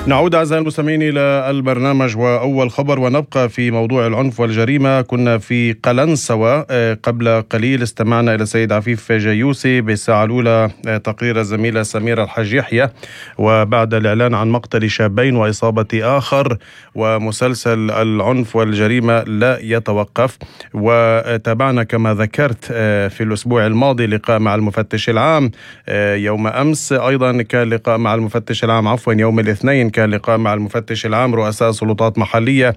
نعود أعزائي المستمعين إلى البرنامج وأول خبر، ونبقى في موضوع العنف والجريمة. كنا في قلنسوة قبل قليل، استمعنا إلى السيد عفيف جيوسي بالساعة الأولى تقرير الزميلة سميرة الحج يحيى، وبعد الإعلان عن مقتل شابين وإصابة آخر، ومسلسل العنف والجريمة لا يتوقف. وتابعنا كما ذكرت في الأسبوع الماضي لقاء مع المفتش العام، يوم أمس أيضا كان لقاء مع المفتش العام، يوم الاثنين كان لقاء مع المفتش العام رؤساء سلطات محلية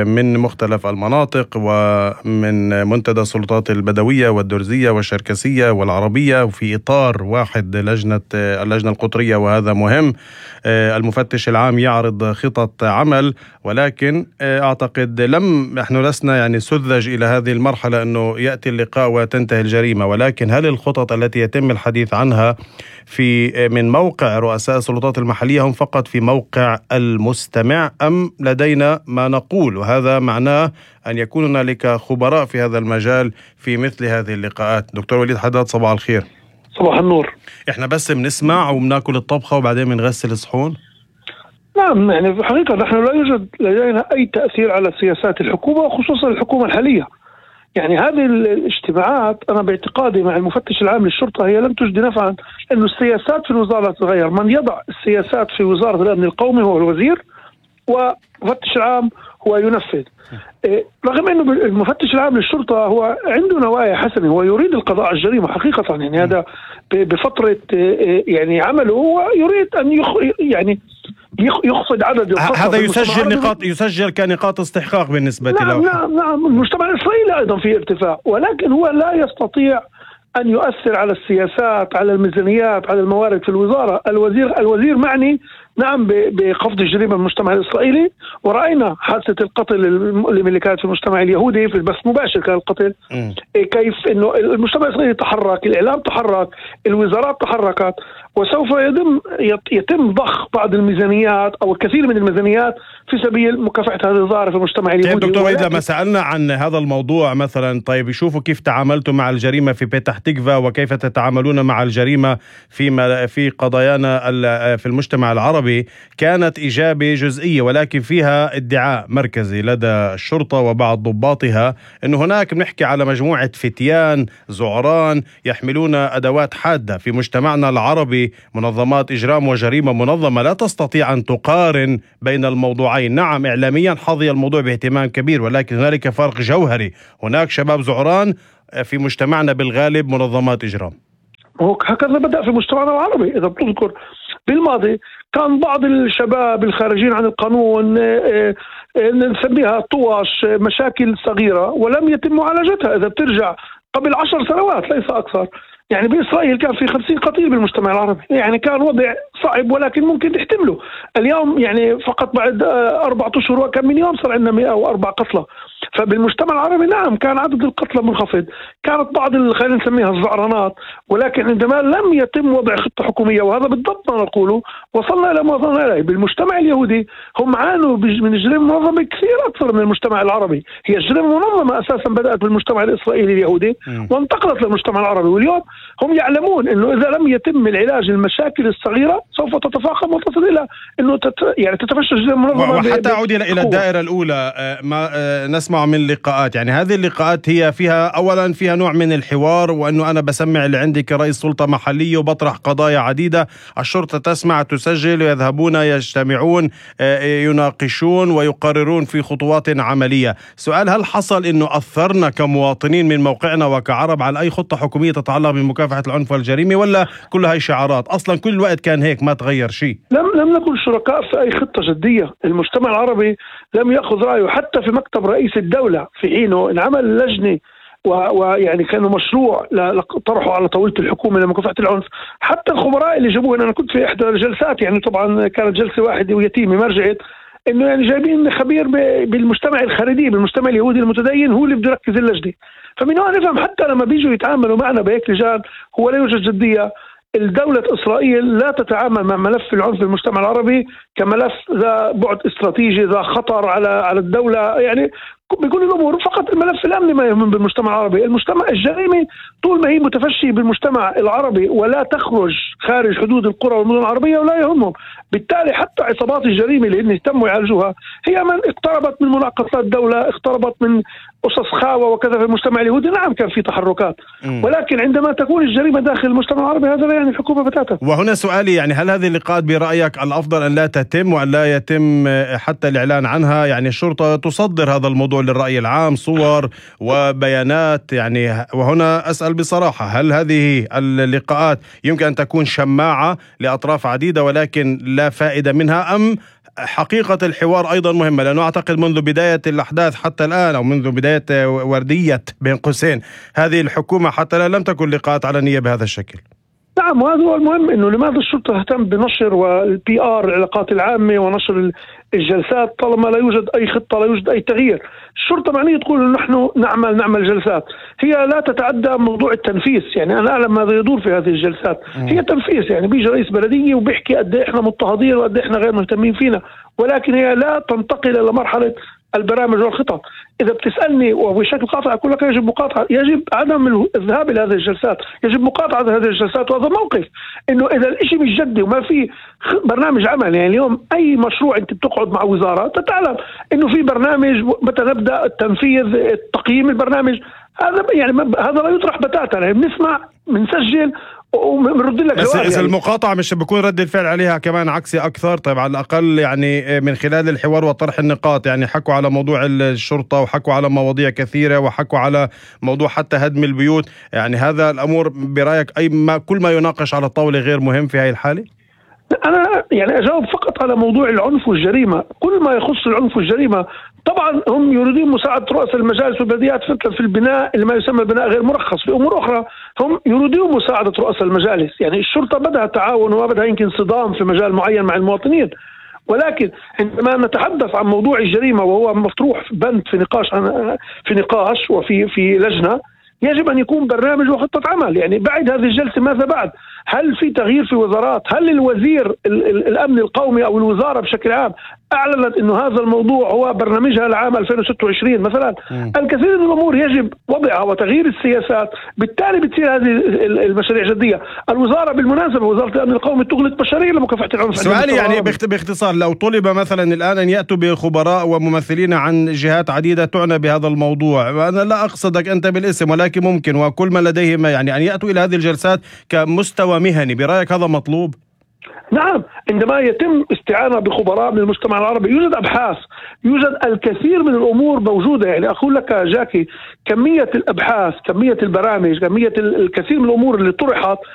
من مختلف المناطق ومن منتدى السلطات البدوية والدرزية والشركسية والعربية، وفي إطار واحد اللجنة القطرية، وهذا مهم. المفتش العام يعرض خطط عمل، ولكن أعتقد نحن لسنا يعني سذج إلى هذه المرحلة أنه يأتي اللقاء وتنتهي الجريمة، ولكن هل الخطط التي يتم الحديث عنها من موقع رؤساء السلطات المحلية هم فقط في موقع المستمع، أم لدينا ما نقول؟ وهذا معناه أن يكون هنالك خبراء في هذا المجال في مثل هذه اللقاءات. دكتور وليد حداد، صباح الخير. صباح النور. إحنا بس بنسمع وبناكل الطبخة وبعدين بنغسل الصحون؟ نعم، يعني في الحقيقة نحن لا يوجد لدينا أي تأثير على سياسات الحكومة، وخصوصا الحكومة الحالية. يعني هذه الاجتماعات أنا باعتقادي مع المفتش العام للشرطة هي لم تجدي نفعا، لأنه السياسات في الوزارة تتغير. من يضع السياسات في وزارة الأمن القومي هو الوزير، والمفتش العام هو ينفذ. رغم أنه المفتش العام للشرطة هو عنده نوايا حسنة، هو يريد القضاء على الجريمة حقيقة. يعني هذا بفترة يعني عمله هو يريد أن يخفض عدد القتلى. هذا يسجل كنقاط استحقاق بالنسبة له. نعم. المجتمع الإسرائيلي أيضا في ارتفاع، ولكن هو لا يستطيع أن يؤثر على السياسات، على الميزانيات، على الموارد في الوزارة. الوزير معني نعم بخفض الجريمة في المجتمع الإسرائيلي، ورأينا حادثة القتل اللي كانت في المجتمع اليهودي في البث مباشر، كان القتل كيف إنه المجتمع الإسرائيلي تحرك، الإعلام تحرك، الوزارات تحركت، وسوف يتم ضخ بعض الميزانيات أو الكثير من الميزانيات في سبيل مكافحة هذه الظاهرة في المجتمع اليهودي. دكتور وليد، لما سألنا عن هذا الموضوع مثلا، طيب يشوفوا كيف تعاملتوا مع الجريمة في بيتح تكفا وكيف تتعاملون مع الجريمة في قضايانا في المجتمع العربي، كانت إجابة جزئية ولكن فيها ادعاء مركزي لدى الشرطة وبعض ضباطها أنه هناك بنحكي على مجموعة فتيان زعران يحملون أدوات حادة. في مجتمعنا العربي منظمات إجرام وجريمة منظمة لا تستطيع أن تقارن بين الموضوعين. نعم، إعلاميا حظي الموضوع باهتمام كبير، ولكن هنالك فرق جوهري. هناك شباب زعران، في مجتمعنا بالغالب منظمات إجرام. هكذا بدأ في مجتمعنا العربي. إذا بتذكر بالماضي كان بعض الشباب الخارجين عن القانون نسميها طواش، مشاكل صغيرة ولم يتم معالجتها. إذا بترجع قبل 10 سنوات ليس أكثر، يعني بإسرائيل كان في 50 قتيل بالمجتمع العربي، يعني كان وضع صعب ولكن ممكن تحتمله. اليوم يعني فقط بعد 4 أشهر وكم من يوم صار عندنا 104 قتلى. فبالمجتمع العربي نعم كان عدد القتلى منخفض، كانت بعض خلينا نسميها الزعرانات، ولكن عندما لم يتم وضع خطة حكومية، وهذا بالضبط ما نقوله، وصلنا إلى ما وصلنا إليه. بالمجتمع اليهودي هم عانوا من الجريمة منظمة كثير أكثر من المجتمع العربي. هي الجريمة منظمة أساسا بدأت بالمجتمع الإسرائيلي اليهودي وانتقلت للمجتمع العربي، واليوم هم يعلمون أنه إذا لم يتم العلاج المشاكل الصغيرة سوف تتفاقم وتصل إلى أنه تتفشى الجريمة المنظمة. وحتى أعود إلى الدائرة الأولى، ما نسمع من لقاءات، يعني هذه اللقاءات هي أولا فيها نوع من الحوار، وأنه أنا بسمع اللي عندي كرئيس سلطة محلية وبطرح قضايا عديدة، الشرطة تسمع تسجل ويذهبون يجتمعون يناقشون ويقررون في خطوات عملية. سؤال، هل حصل أنه أثرنا كمواطنين من موقعنا وكعرب على أي خطة حكومية تتعلق بمكافحة العنف والجريمة، ولا كل هاي شعارات؟ أصلا كل الوقت كان هيك، ما تغير شيء. لم نكن شركاء في أي خطة جدية. المجتمع العربي لم يأخذ رأيه حتى في مكتب رئيس الدولة في حينه انعمل لجنة ويعني كانوا مشروع طرحوا على طاولة الحكومة لمكافحة العنف. حتى الخبراء اللي جابوه، أنا كنت في إحدى الجلسات، يعني طبعا كانت جلسة واحدة ويتيمة ما رجعت، إنه يعني جايبين خبير بالمجتمع الخارجي، بالمجتمع اليهودي المتدين، هو اللي بده يركز اللجنة. فمن هون نفهم حتى لما بيجوا يتعاملوا معنا بهيك لجان هو لا يوجد جدية. الدولة إسرائيل لا تتعامل مع ملف العنف في المجتمع العربي كملف ذا بعد استراتيجي، ذا خطر على الدولة. يعني بكل الأمور. فقط الملف الأمني ما يهم بالمجتمع العربي. المجتمع الجريمة طول ما هي متفشية بالمجتمع العربي ولا تخرج خارج حدود القرى والمدن العربية ولا يهمهم. بالتالي حتى عصابات الجريمة اللي اهتموا يعالجوها هي من اقتربت من مناقصات الدولة، اقتربت من قصص خاوة وكذا في المجتمع اليهودي. نعم كان في تحركات، ولكن عندما تكون الجريمة داخل المجتمع العربي هذا لا يعني الحكومة بتاتا. وهنا سؤالي، يعني هل هذه اللقاءات برأيك الأفضل أن لا تتم وأن لا يتم حتى الإعلان عنها؟ يعني الشرطة تصدر هذا الموضوع للرأي العام، صور وبيانات يعني. وهنا أسأل بصراحة، هل هذه اللقاءات يمكن أن تكون شماعة لأطراف عديدة ولكن لا فائدة منها، أم حقيقة الحوار أيضا مهمة؟ لأنه أعتقد منذ بداية الأحداث حتى الآن، أو منذ بداية وردية بين قوسين هذه الحكومة حتى الآن لم تكن لقاءات علنية بهذا الشكل. نعم، وهذا هو المهم، انه لماذا الشرطه تهتم بنشر والبي ار العلاقات العامه ونشر الجلسات طالما لا يوجد اي خطه، لا يوجد اي تغيير. الشرطه معنيه تقول انه نحن نعمل جلسات، هي لا تتعدى موضوع التنفيذ. يعني انا اعلم ماذا يدور في هذه الجلسات، هي تنفيذ. يعني بيجي رئيس بلديه وبيحكي قد ايه احنا مضطهدين وقد ايه احنا غير مهتمين فينا، ولكن هي لا تنتقل الى مرحله البرامج والخطط. إذا بتسألني وبشكل قاطع أقول لك يجب عدم الذهاب إلى هذه الجلسات، يجب مقاطعة هذه الجلسات. وهذا موقف إنه إذا الإشي مش جدي وما في برنامج عمل. يعني اليوم أي مشروع أنت بتقعد مع وزارة تعلم إنه في برنامج متى نبدأ التنفيذ، التقييم البرنامج. هذا يعني هذا لا يطرح بتاتا. يعني بنسمع بنسجل وبنرد لك. بس يعني المقاطعة مش بكون رد الفعل عليها كمان عكسي أكثر؟ طيب على الأقل يعني من خلال الحوار وطرح النقاط، يعني حكوا على موضوع الشرطة وحكوا على مواضيع كثيرة وحكوا على موضوع حتى هدم البيوت. يعني هذا الأمور برأيك كل ما يناقش على الطاولة غير مهم في هذه الحالة؟ أنا يعني أجاوب فقط على موضوع العنف والجريمة. كل ما يخص العنف والجريمة طبعا هم يريدون مساعدة رؤساء المجالس والبلديات في البناء اللي ما يسمى بناء غير مرخص. في أمور أخرى هم يريدون مساعدة رؤساء المجالس. يعني الشرطة بدها تعاون وما بدها يمكن صدام في مجال معين مع المواطنين، ولكن عندما نتحدث عن موضوع الجريمة وهو مطروح بند في نقاش وفي لجنة، يجب أن يكون برنامج وخطة عمل. يعني بعد هذه الجلسة ماذا بعد؟ هل في تغيير في وزارات؟ هل الوزير الأمن القومي أو الوزارة بشكل عام أعلنت أنه هذا الموضوع هو برنامجها لعام 2026 مثلا؟ الكثير من الأمور يجب وضعها وتغيير السياسات، بالتالي بتصير هذه المشاريع جدية. الوزارة بالمناسبة وزارة الأمن القومي تغلق مشاريع لمكافحة العنف. سؤالي يعني باختصار، لو طلب مثلا الآن أن يأتوا بخبراء وممثلين عن جهات عديدة تعنى بهذا الموضوع، وأنا لا أقصدك أنت بالاسم ولكن ممكن وكل ما لديهم يعني أن يأتوا إلى هذه الجلسات كمستوى مهني، برأيك هذا مطلوب؟ نعم، عندما يتم استعانة بخبراء من المجتمع العربي يوجد أبحاث، يوجد الكثير من الأمور موجودة. يعني أقول لك جاكي، كمية الأبحاث، كمية البرامج، كمية الكثير من الأمور اللي طرحت